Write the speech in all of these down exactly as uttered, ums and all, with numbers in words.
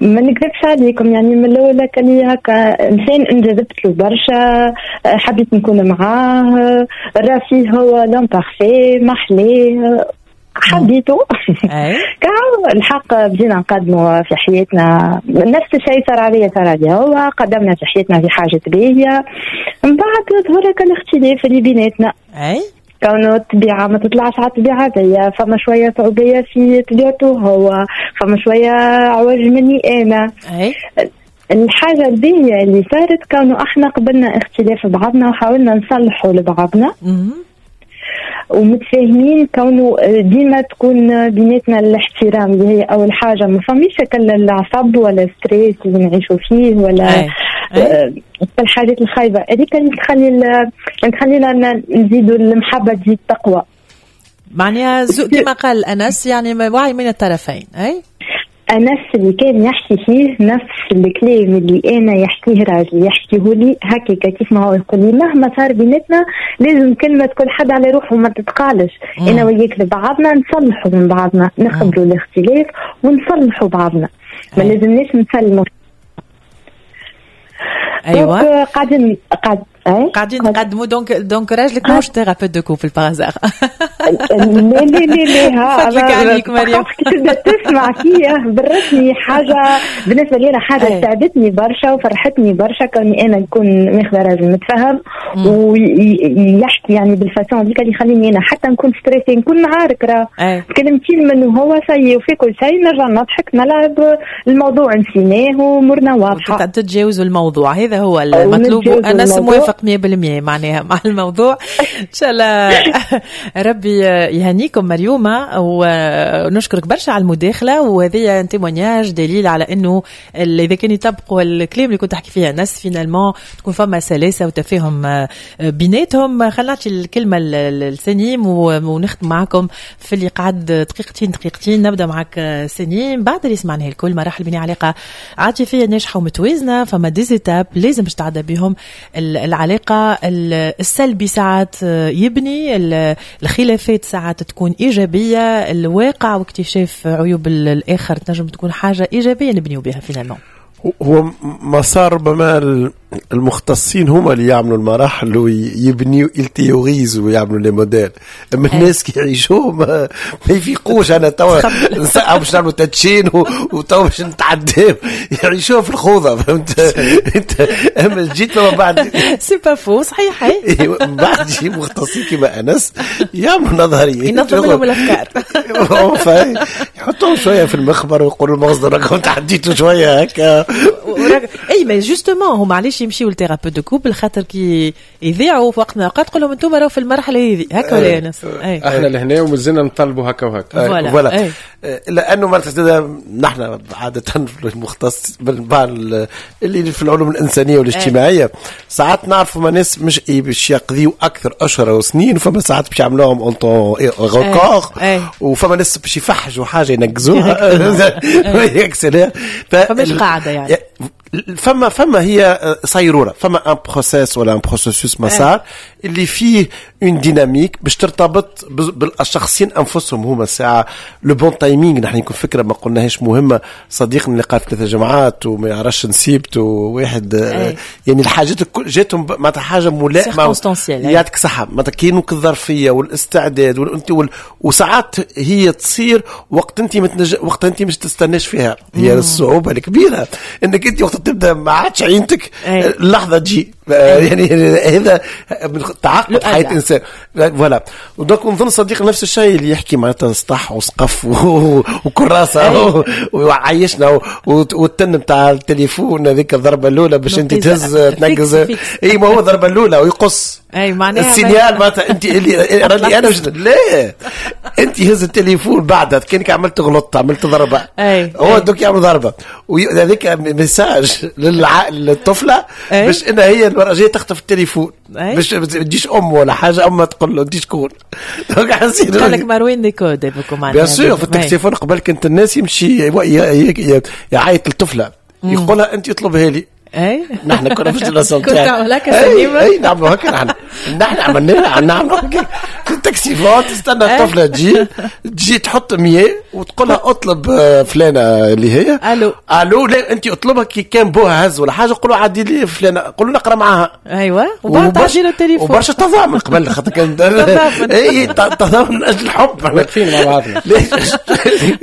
ما نكذبش عليكم، يعني من الاول كان هكا انسان انجذبت له برشا، حبيت نكون معاه، راسي هو l'homme parfait، محلاه، حبيته. كا الحق بدينا نقدموا في حياتنا، نفس الشيء صار عليا صار عليا هو، قدمنا في حياتنا في حاجة باهيه. من بعد ظهر الاختلاف اللي بيناتنا، اي كونه الطبيعة ما تطلعش على الطبيعة ذي، فما شوية صعوبية في طبيعته هو، فما شوية عوج مني أنا. أي. الحاجة الباهية اللي صارت كونه احنا قبلنا اختلاف بعضنا وحاولنا نصلحوا لبعضنا ومتفاهمين، كونه ديما تكون بيناتنا الاحترام اللي هي اول حاجه. ما فماش العصب ولا stress اللي نعيشوا فيه ولا أي. أي. الحاجات الخايبة هذيك اللي تخلي تخلينا نزيدوا المحبة تزيد تقوى. معناها كما قال انس، يعني وعي من الطرفين. اي. انس اللي كان يحكي فيه نفس الكلام اللي انا يحكيه راجلي، يحكيه لي هكاك كيف ما هو يقول لي مهما صار بيناتنا لازم كلمة كل حد على روحه ما تتقالش. انا وياك لبعضنا نصلحوا من بعضنا، نقبلوا الاختلاف ونصلحوا بعضنا، ما لازمناش نسلموا. ايوه، قاعدين قاعد قاعدين نقدموا. donc donc راجلك ماهوش thérapeute de couple par hasard؟ لا لا لا لا. ها فضلك عليك مريم. كي تبدا تسمع فيه بالرسمي حاجة بالنسبة لي انا حاجة ساعدتني برشا وفرحتني برشا، كوني انا نكون ماخذه راجل متفهم ويحكي يعني بال façon هذيك اللي يخليني انا حتى نكون stressée، نكون معارك، راه كلمتين منه هو ça y est وفي كل شيء نرجع نضحك نلعب، الموضوع نسيناه وامورنا واضحه. تتجاوزوا الموضوع، هذا هو المطلوب. انا موافق مية بالمية معناها مع الموضوع. ان شاء الله ربي يهنيكم مريومه، ونشكرك برشا على المداخله. وهذه témoignage دليل على انه اذا كان يطبقوا الكلام اللي كنت تحكي فيها انس، finalement تكون فما سلاسة وتفاهم بيناتهم. خلينا نعطي الكلمة لسنيم ونختم معكم في اللي قعد دقيقتين دقيقتين. نبدا معك سنيم، بعد اللي سمعناه الكل، مراحل بناء علاقة عاطفية ناجحة ومتوازنه، فما des étapes لازم باش تعدى بهم العلاقه. السلبي ساعات يبني، الخلافات ساعات تكون ايجابيه، الواقع واكتشاف عيوب الاخر تنجم تكون حاجة ايجابية نبنيو بها finalement. هو مسار ربما المختصين هما اللي يعملوا المراحل ويبنيوا، ils théorisent ويعملوا les modèles، اما الناس كي يعيشوه ما, ما يفيقوش. انا توا باش نعملوا تدشين وتوا باش نتعداو، يعيشوها في الخوضه، فهمت انت؟ اما جيت ما بعد c'est pas faux، صحيح. من بعد يجي مختصين كيما انس يعملوا نظرية. ينظم لهم الافكار. يحطوهم شوية في المخبر ويقولوا المصدر راكم تعديتوا شوية هكا. اي mais justement هما علاش يمشيو ل thérapeute de couple؟ خاطر كي يذيعوا في وقت من الاوقات تقول لهم انتم راهو في المرحلة هذه هكا ولا انس؟ احنا لهنا ومازلنا نطالبوا هكا وهكا. voilà، لانه نحن عادة المختص اللي في العلوم الانسانية والاجتماعية ساعات نعرفوا ما ناس مش باش يقضيوا اكثر اشهر وسنين، وفما ساعات باش يعملوهم en temps record، وفما ناس باش يفحجوا حاجة ينقزوها. فماش قاعدة يعني. فما فما هي صيروره، فما un process ولا un processus، مسار اللي فيه une dynamique باش ترتبط بالشخصين انفسهم هما. ساعة le bon timing، نحن يكون فكرة ما قلناهاش مهمه، صديقنا اللي قال في ثلاثة جمعات وما يعرفش نسيبته واحد، يعني الحاجات الكل جاتهم معناتها حاجة ملائمه. يعطيك صحه، معناتها كاينو الظرفية والاستعداد والانت وال... وساعات هي تصير وقت انت متنج... وقت انت مش تستناش فيها. هي الصعوبة الكبيرة انك انت وقت تبدا ما عادش عينتك اللحظة تجي، يعني هذا من تعقد حياة الانسان. voilà، donc نظن صديق نفس الشيء اللي يحكي معناتها سطح وسقف وكراسه وعيشنا، والتن نتاع التليفون هذيك الضربة الاولى باش انت تهز تنقز. اي ما هو الضربة الاولى ويقص. اي معناها ال signal معناتها انت اللي راني انا لا انت هز التليفون بعدها كانك عملت غلط، عملت ضربه. أي. هو دوك يعمل ضربه وهذيك message للطفله باش انها هي المرة الجاية تخطف التليفون باش ما تجيش ام ولا حاجه، اما تقول له انت شكون. donc حسيت قال لك مروان des codes. bien sûr، في التليفون قبل كنت الناس يمشي يعيط للطفله يقولها انت اطلبها لي. اي نحن كنا في ال génération كنت تعمل هكا سليمة. اي نعملوا هكا نحن نحن عملناها نعملوا هكا في ال taxiphone، تستنى الطفلة تجي تجي تحط مية وتقول لها اطلب فلانه اللي هي الو الو. لا انت اطلبها كي كان بوها هز ولا حاجة، قولوا عدي لي فلانه، قولوا نقرا معاها. ايوه وبعد تعدي له التليفون. وبرشا تضامن قبل خاطر كان اي تضامن من اجل الحب، واقفين مع بعضنا.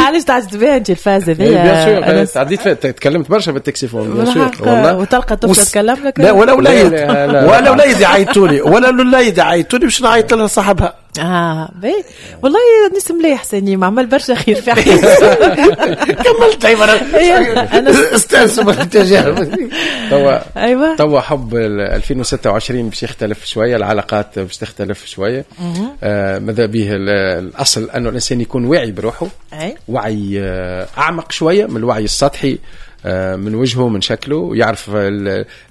علاش تعجبت بها انت الفاز هذيا؟ bien sûr عديت تكلمت برشا بال taxiphone bien sûr والله. وتلقى طفله تكلم لك؟ لا ولا وليد ولا وليد يعيطوا لي ولا الوليد يعيطوا لي باش نعيط لها صاحبها. اه باهي والله ناس مليح سليم، عمل برشا خير في حياته. كملت انا استانسوا بالتجارب. توا ايوه توا حب ألفين وستة وعشرين باش يختلف شوية، العلاقات باش تختلف شوية. آه ماذا به الاصل انه الانسان يكون واعي بروحه، وعي اعمق شوية من الوعي السطحي، من وجهه من شكله، يعرف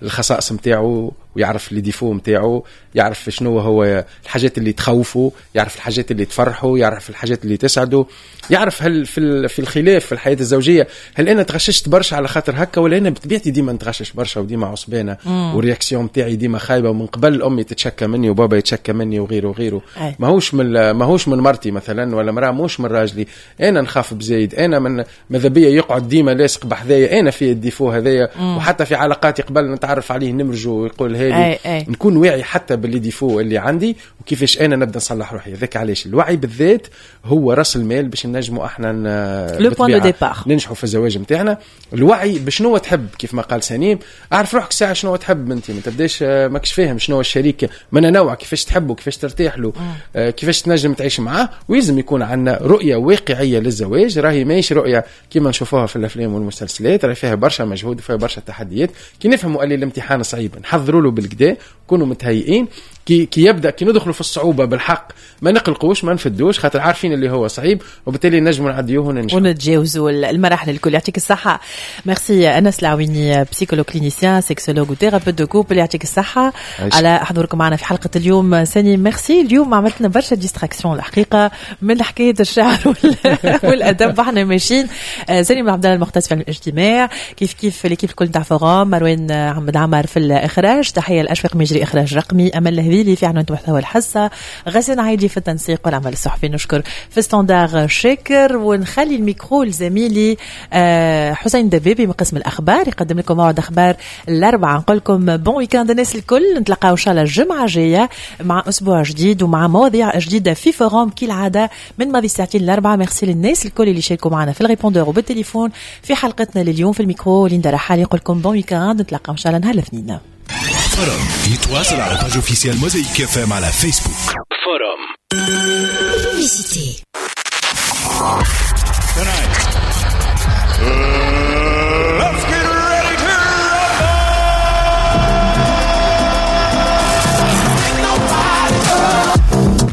الخصائص نتاعو ويعرف les défauts نتاعو، يعرف شنو هو الحاجات اللي تخوفه، يعرف الحاجات اللي تفرحه، يعرف الحاجات اللي تسعده، يعرف هل في في الخلاف في الحياة الزوجية هل انا تغششت برشا على خاطر هكا ولا انا بطبيعتي ديما نتغشش برشا وديما عصبانه وال réaction نتاعي ديما خايبة، ومن قبل امي تتشكى مني وبابا يتشكى مني وغيره وغيره. ماهوش من ماهوش من مرتي مثلا ولا مراة، ماهوش من راجلي، انا نخاف بزايد، انا من ماذا بيا يقعد ديما لاصق بحذايا، انا في ال défaut هذايا. وحتى في علاقاتي قبل نتعرف عليه نمرجو ويقول هذه، نكون واعي حتى ب les défauts اللي عندي وكيفاش انا نبدا نصلح روحي. هذاك علاش الوعي بالذات هو راس المال باش نجموا احنا le point de départ ننجحوا في الزواج نتاعنا. الوعي بشنو تحب كيف ما قال سليم، اعرف روحك ساعة شنو تحب انت، ما تبداش ماكش فاهم شنو الشريك من نوع، كيفاش تحبه، كيفاش ترتاح له، آه كيفاش تنجم تعيش معاه. ويلزم يكون عندنا رؤية واقعية للزواج، راهي ماهيش رؤية كيما نشوفوها في الافلام والمسلسلات، راهي فيها برشا مجهود وفيها برشا تحديات. كي نفهموا اللي الامتحان صعيب نحضروا له بالكدا، كونوا متهيئين كي كي يبدا كي ندخلوا في الصعوبة بالحق ما نقلقوش ما نفدوش، خاطر عارفين اللي هو صعيب، وبالتالي نجموا نعديوه وننجحوا ونتجاوزوا المراحل الكل. يعطيك الصحة، ميرسي انس العويني، psychologue clinicien sexologue و thérapeute de couple، يعطيك الصحة على حضوركم معنا في حلقة اليوم. ساني ميرسي، اليوم عملت لنا برشا distractions الحقيقة من حكاية الشعر والادب، احنا ماشيين. ساني عبد الله المختص في الاجتماع، كيف كيف l'équipe الكل تاع forum، مروان عمد عمر في الاخراج، تحية لاشفاق مجري اخراج رقمي، امل الهذيلي في عنوان محتوى الحصة، غسان عايدي في التنسيق والعمل الصحفي، نشكر في standard شاكر، ونخلي الميكرو لزميلي حسين دبيبي من قسم الأخبار يقدم لكم موعد أخبار الأربعة. نقول لكم bon week-end الناس الكل، نتلقاو إن شاء الله الجمعة الجاية مع أسبوع جديد ومع مواضيع جديدة في forum كالعادة من ماضي الساعتين الأربعة. ميرسي للناس الكل اللي شاركوا معنا في ال répondeur وبالتليفون في حلقتنا لليوم. في الميكرو ليندا رحالي يقول لكم bon week-end، نتلقاو إن شاء الله نهار الاثنين. forum يتواصل على page officielle موزايك اف ام على فيسبوك. forum Publicité. Let's get ready to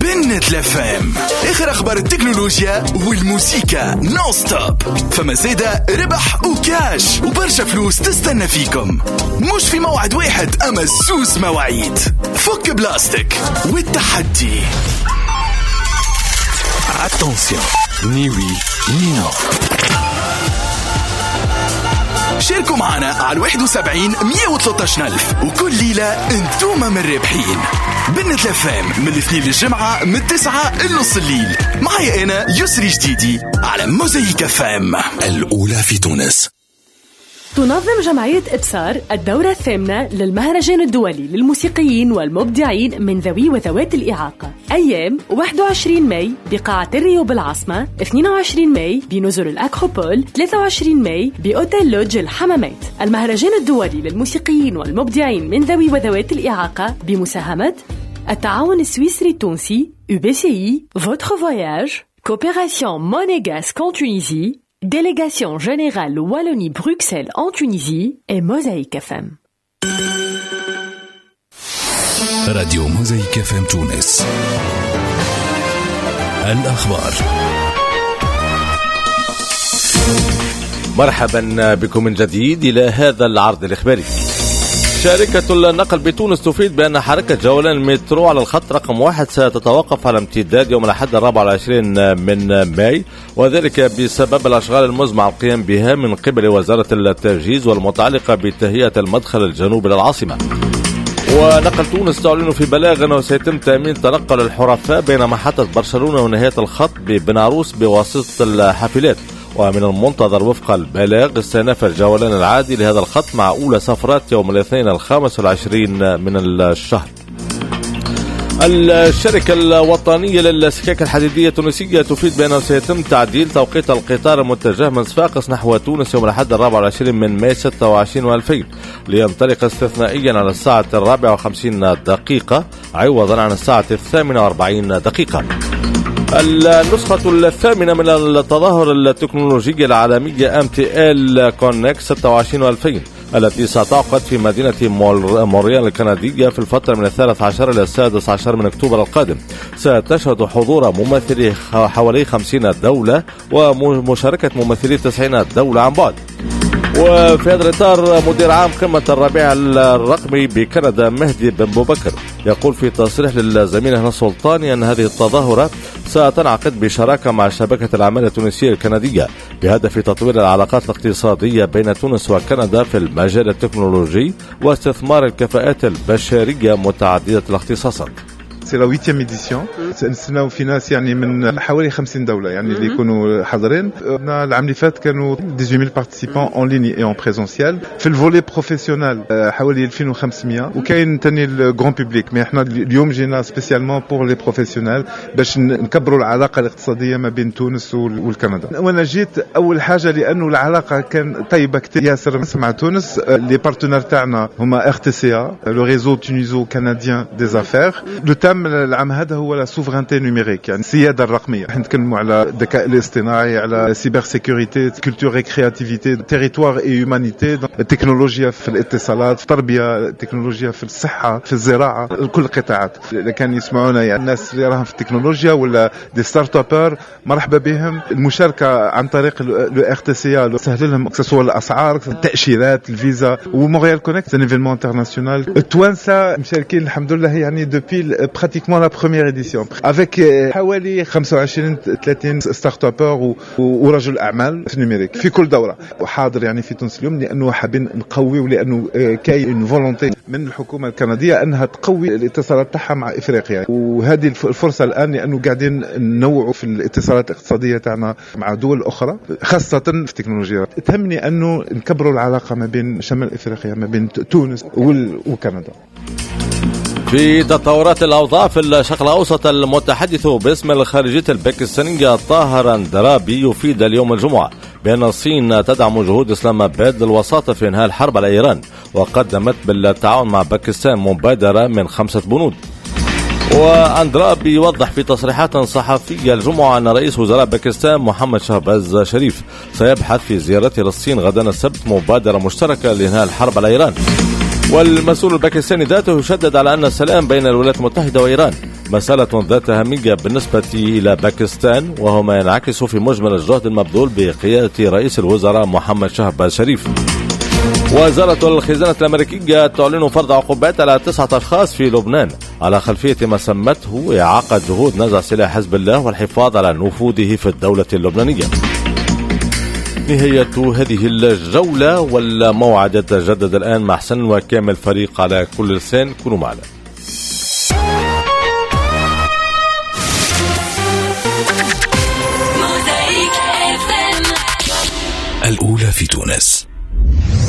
بنت الافام، اخر اخبار التكنولوجيا والموسيقى non-stop، فما زيادة ربح وكاش وبرشا فلوس تستنى فيكم، مش في موعد واحد اما زوز مواعيد. فك بلاستيك والتحدي. Attention, ni oui ni non. شاركوا معنا على واحد وسبعين مية وثلاثة ألف وكل ليلة انتوما من الرابحين. بنت الأفلام من الاثنين للجمعة من التسعة لنص الليل، معي أنا يسري جديدي على موزايك أف أم الأولى في تونس. تنظم جمعية إبصار الدورة الثامنة للمهرجان الدولي للموسيقيين والمبدعين من ذوي وذوات الإعاقة، أيام واحد وعشرين ماي بقاعة الريو بالعاصمة، اثنين وعشرين ماي بنزل الأكروبول، ثلاثة وعشرين ماي بأوتيل لوج الحمامات. المهرجان الدولي للموسيقيين والمبدعين من ذوي وذوات الإعاقة بمساهمة التعاون السويسري التونسي، يو بي سي إي، Votre Voyage، Coopération Monégasque en Tunisie، Délégation générale Wallonie-Bruxelles en Tunisie et Mosaïque إف إم. راديو موزايك إف إم تونس. الأخبار. مرحبا بكم من جديد إلى هذا العرض الإخباري. شركة النقل بتونس تفيد بأن حركة جولان المترو على الخط رقم واحد ستتوقف على امتداد يوم الأحد الرابع والعشرين من ماي، وذلك بسبب الأشغال المزمع القيام بها من قبل وزارة التجهيز والمتعلقة بتهيئة المدخل الجنوبي للعاصمة. ونقل تونس تعلن في بلاغ أنه سيتم تأمين تنقل الحرفاء بين محطة برشلونة ونهاية الخط ببن عروس بواسطة الحافلات. ومن المنتظر وفق البلاغ استئناف الجولان العادي لهذا الخط مع أولى سفرات يوم الاثنين الخامس والعشرين من الشهر. الشركة الوطنية للسكك الحديدية التونسية تفيد بأنه سيتم تعديل توقيت القطار المتجه من صفاقس نحو تونس يوم الأحد الرابع والعشرين من ماي ستة وعشرين وألفين لينطلق استثنائيا على الساعة الرابعة وخمسين دقيقة عوضا عن الساعة الثامنة وأربعين دقيقة. النسخة الثامنة من التظاهر التكنولوجية العالمية MTL Connect ستة وعشرين وألفين التي ستعقد في مدينة مونريال الكندية في الفترة من الثالث عشر إلى السادس عشر من أكتوبر القادم، ستشهد حضور ممثلي حوالي خمسين دولة ومشاركة ممثلي تسعين دولة عن بعد. وفي هذا الإطار مدير عام قمة الربيع الرقمي بكندا مهدي بن بوبكر يقول في تصريح للزميل هنا السلطاني أن هذه التظاهرة ستنعقد بشراكة مع شبكة الأعمال التونسية الكندية بهدف تطوير العلاقات الاقتصادية بين تونس وكندا في المجال التكنولوجي واستثمار الكفاءات البشرية متعددة الاختصاصات. c'est la huitième édition. نستناو في ناس يعني من حوالي خمسين دولة يعني اللي يكونوا حاضرين. العام اللي فات كانوا dix-huit mille participants en ligne et en présentiel. في ال volet professionnel حوالي ألفين وخمسمية، وكاين ثاني ال grand public. mais احنا اليوم جينا spécialement pour les professionnels باش نكبروا العلاقة الاقتصادية ما بين تونس والكندا. وانا جيت اول حاجة لانه العلاقة كان طيبة كثير ياسر مع تونس. les partenaires تاعنا هما RTCA، le réseau tuniso-canadien des affaires. le thème العام هذا هو la souveraineté numérique، يعني السيادة الرقمية. احنا نتكلموا على الذكاء الاصطناعي، على cybersécurité، culture et créativité، territoire et humanité، التكنولوجيا في الاتصالات، في التربية، التكنولوجيا في الصحة، في الزراعة، كل القطاعات. اذا كان يسمعونا يعني الناس اللي راهم في التكنولوجيا ولا des startuppeurs، مرحبا بهم. المشاركة عن طريق le RTCA سهل لهم سواء الاسعار، التاشيرات، الفيزا. و Montréal Connect un événement international. التوانسة مشاركين الحمد لله يعني depuis pratiquement la première édition avec حوالي خمسة وعشرين ثلاثين startuppeur ورجل اعمال في ال numérique في كل دوره. وحاضر يعني في تونس اليوم لانه حابين نقوي، ولانه كاين une volonté من الحكومة الكندية انها تقوي الاتصالات تاعها مع افريقيا، وهذه الفرصة الان لانه قاعدين ننوعوا في الاتصالات الاقتصادية تاعنا مع دول اخرى خاصة في التكنولوجيا. تهمني انه نكبروا العلاقة ما بين شمال افريقيا، ما بين تونس وكندا. في تطورات الأوضاع في الشرق الأوسط، المتحدث باسم الخارجية الباكستانية طاهر اندرابي يفيد اليوم الجمعة بأن الصين تدعم جهود إسلام آباد للوساطة في إنهاء الحرب على إيران، وقدمت بالتعاون مع باكستان مبادرة من خمسة بنود. وأندرابي يوضح في تصريحات صحفية الجمعة أن رئيس وزراء باكستان محمد شهباز شريف سيبحث في زيارته للصين غدا السبت مبادرة مشتركة لإنهاء الحرب على إيران. والمسؤول الباكستاني ذاته يشدد على أن السلام بين الولايات المتحدة وإيران مسألة ذات أهمية بالنسبة إلى باكستان، وهو ما ينعكس في مجمل الجهد المبذول بقيادة رئيس الوزراء محمد شهباز شريف. وزارة الخزانة الأمريكية تعلن فرض عقوبات على تسعة أشخاص في لبنان على خلفية ما سمته إعاقة جهود نزع سلاح حزب الله والحفاظ على نفوذه في الدولة اللبنانية. نهاية هذه الجولة، والموعد يتجدد الآن مع حسن وكامل فريق على كل لسان. كونوا معنا. الأولى في تونس.